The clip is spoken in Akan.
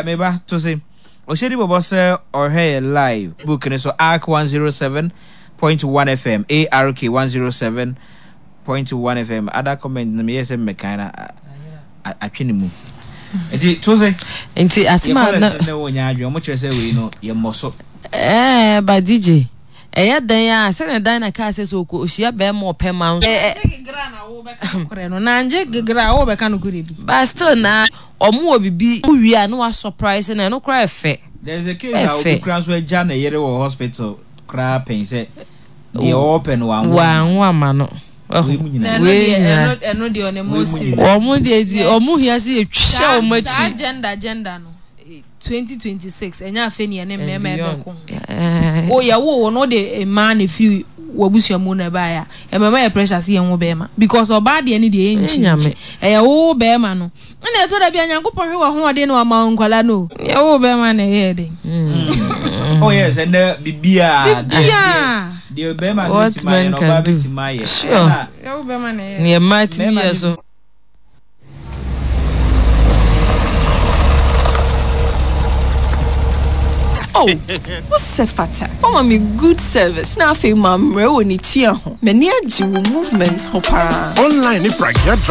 Meba to se ɔhyɛ di bɔbɔ sɛ ɔhwɛ yɛ live book ne so ark 107.1 fm ark 107.1 fm ada comment no meyɛ sɛ mmɛkan na atwe ne mu nti to se nti asɛm a na ne wɔ nya adwene ɔmo kyerɛ sɛ wei no yɛ mmɔ so ɛɛ ba DJ ɛyɛ dɛn a sɛnea dan na kaa sɛ sɛ ɔkɔ ɔhyia bɛrima ɔpɛ ma nso korɛ no na ngye gegra a wɔbɛka no korɛ bi but still na Ɔmo wɔ bibi wo wie a na wa surprise no ɛno koraa ɛfɛ. There is a case a obi koraa nso agya ne yere wɔ hospital koraa pɛn sɛ deɛ ɔɔpɛ no wanwo Wanwo ama no. Wei mu nyinaa. Wei nyinaa. Ɛno deɛ ɔne mo serious. Wɔn deɛ ti wɔn hia sɛ yɛtwa wɔn akyi. Saa gender gender no 2026 ɛnyɛ afei ne yɛne mmarima ɛbɛko ho. Wo yɛwo wo no wode mmaa na ɛfiri w'abusua mu na ɛbaeɛ a ɛmɛma yɛ pressure sɛ yɛnwo bɛrima because ɔbaa deɛ ne deɛ ɛyɛ nkyinkyim ɛyɛ wo bɛrima no ɛna ɛtɔ da bi a Nyankopɔn hwɛ w'ahoɔden na wama wo nkwadaa no o yɛwo bɛrima na ɛyɛ den. Oh yes, ɛnɛ biribiara biribiara deɛ bɛrima no bɛtumi ayɛ no ɔbaa bɛtumi ayɛ. Sure. Yɛwo bɛrima na ɛyɛ. Neɛ mmaa tumi yɛ so. Oh, wo sɛ fata. Wama me good service na afei mammrɛ wɔ ne tua ho. M'ani agye wo movement ho paa. Online ne pragea drive.